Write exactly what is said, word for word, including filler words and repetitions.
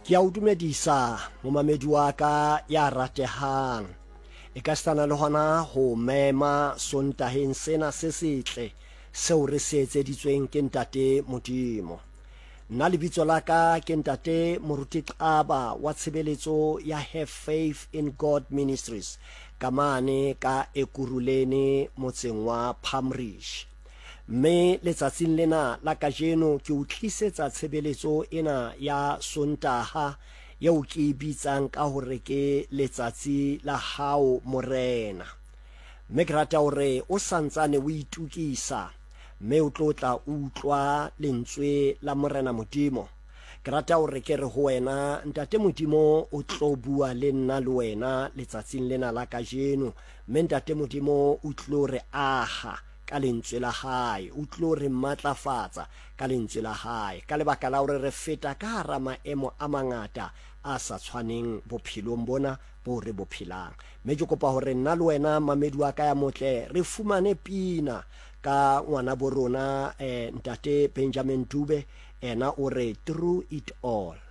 Ke a o dumedisa momamedi wa ka ya ratehang. E ka sitana le hona ho mema Sontaheng sena se setle seo re se etseditsweng ke Ntate Modimo. Nna lebitso la ka ke Ntate Moruti Xaba wa tshebeletso ya Have Faith in God Ministries ka mane ka Ekurhuleni motseng wa Palm Ridge. Mme letsatsing lena la kajeno ke o tlisetsa tshebeletso ena ya Sontaha eo ke e bitsang ka hore ke letsatsi la hao Morena. Mme ke rata hore o santsane o itukisa mme o tlo tla utlwa lentswe la Morena Modimo. Ke rata hore ke re ho wena Ntate Modimo o tlo bua le nna le wena letsatsing lena la kajeno, mme Ntate Modimo o tlo re aha ka lentswe la hae, o tlo re matlafatsa ka lentswe la hae, ka lebaka la hore re feta ka hara maemo a mangata a sa tshwaneng bophelong bona bo re bo phelang. Mme ke kopa hore nna le wena mamedi wa ka ya motle re fumane pina ka ngwana bo rona eh, Ntate Benjamin Dube, ena o re Through It All.